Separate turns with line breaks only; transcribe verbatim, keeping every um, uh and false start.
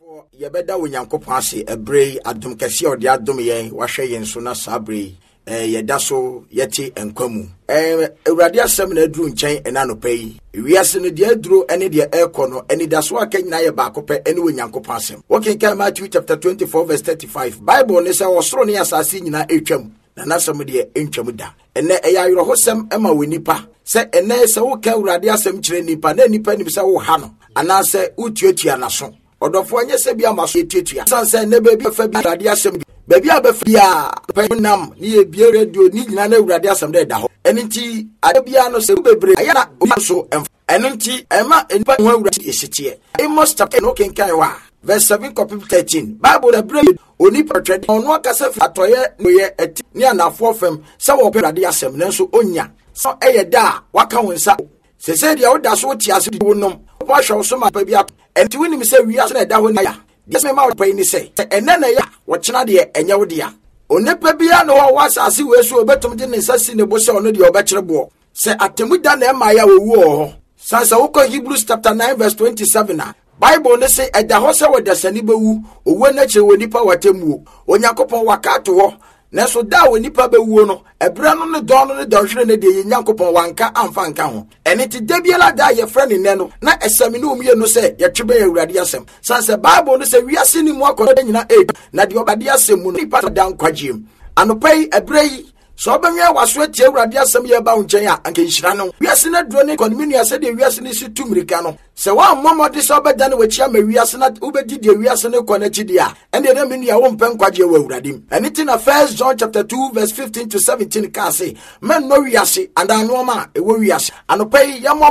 Yɛbɛda Onyankopɔn ase ɛberɛ yi, adom kɛseɛ a ɔde adom yɛn, wahwɛ yɛn so na saa berɛ yi eh, yɛda so yɛte nkwa mu. eh, Awurade asɛm na aduru nkyɛn ɛna anɔpa yi. Wiase no deɛ aduro ne deɛ ɛrekɔ no, anidaso aka nyinaa yɛ baako pɛ, ɛne Onyankopɔn asɛm. Wokenkan Matthew chapter twenty-four verse thirty-five, Bible ne sɛ ɔsoro ne asase nyinaa ɛretwam, na n'asɛm deɛ ɛntwam da. Ɛnɛ ɛyɛ awerɛhosɛm ma wɔ nipa sɛ ɛnɛ sɛ woka Awurade asɛm kyerɛ nipa na nipa nim sɛ woha no anaasɛ wotuatua n'aso. Ɔdɔfoɔ, nyɛ sɛ bi ama so yɛtuatua, san sɛ nnɛ baabi a bɛfa bi Awurade asɛm, baabi a bɛfa biara pɛ nam ne yɛbie radio ne nyinaa na Awurade asɛm dɛ ɛda hɔ. Ɛno nti ade biara no sɛ wo bebree ayɛ na obi nso ɛmfa. Ɛno nti ɛma nnipa ho Awurade ɛsiteɛ. Amos chapter no kenkan hɔ a, verse seven kɔpem thirteen, Bible na berɛ onipa twɛde ɔno akasa fi atɔeɛ noyɛ ɛti ne anafoɔ fam sɛ wɔpɛ Awurade asɛm, nanso onya sɛ ɛyɛ da a waka wo nsa sɛsɛ deɛ woda so wote ase wo nom woahwɛ wo so ma pa bi ato. Ɛnti wonim sɛ wiase na ɛda hɔ ni aya deɛ sɛ mema wo pa yi ne sɛ sɛ ɛnɛ na ɛyɛ a, wɔkyena deɛ ɛnyɛ wo dea. Onipa biara ne hɔ wɔ asase wei so obɛtumi de ne nsa si ne bo sɛ ɔno deɛ ɔbɛkyerɛ boɔ sɛ atemu da na ɛma yɛ a wɔwu wɔ hɔ. San sɛ wokɔ Hebrews chapter nine verse twenty-seven a, Bible ne se ɛda hɔ sɛ wɔdasani bɛwu, owuo no akyerɛ wɔ nipa watemmuo. Onyankopɔn waka ato hɔ, nanso da a onipa bɛwuo no, ɛberɛ no ne dɔn no ne dɔnhwere no deɛ, yɛ Nyankopɔn wanka amfa nka ho. Ɛne nti da biara da a yɛfrɛ ne nnɛ no na ɛsɛme ne ɔmmienu sɛ yɛtwe bɛn Awurade asɛm, sane sɛ Bible no sɛ wiase ne mu akɔnɔ nyina ɛdi na deɛ ɔbade asɛm mu no nipa da nkwagyeɛ mu. Anɔpa yi, ɛberɛ yi, sɛ ɔbɛnwɛn w'aso atie Awurade asɛm yɛ ba wo nkyɛn a, anka nhyira no. Wiase no aduro ne kɔnemi nua, sɛdeɛ wiase no si tu mmirika no, sɛ woammɔ mmɔde sɛ wobɛdane w'akyi ama wiase na wobɛdi deɛ wiase no kɔ n'akyi deɛ a, ɛndeɛ na me nua wompɛ nkwagyeɛ wɔ Awurade mu. Ɛno nti na First John chapter two verse fifteen to seventeen kaa se mɛnnɔ wiase anaa nnoɔma a ɛwɔ wiase. Anɔpa yi yɛmmɔ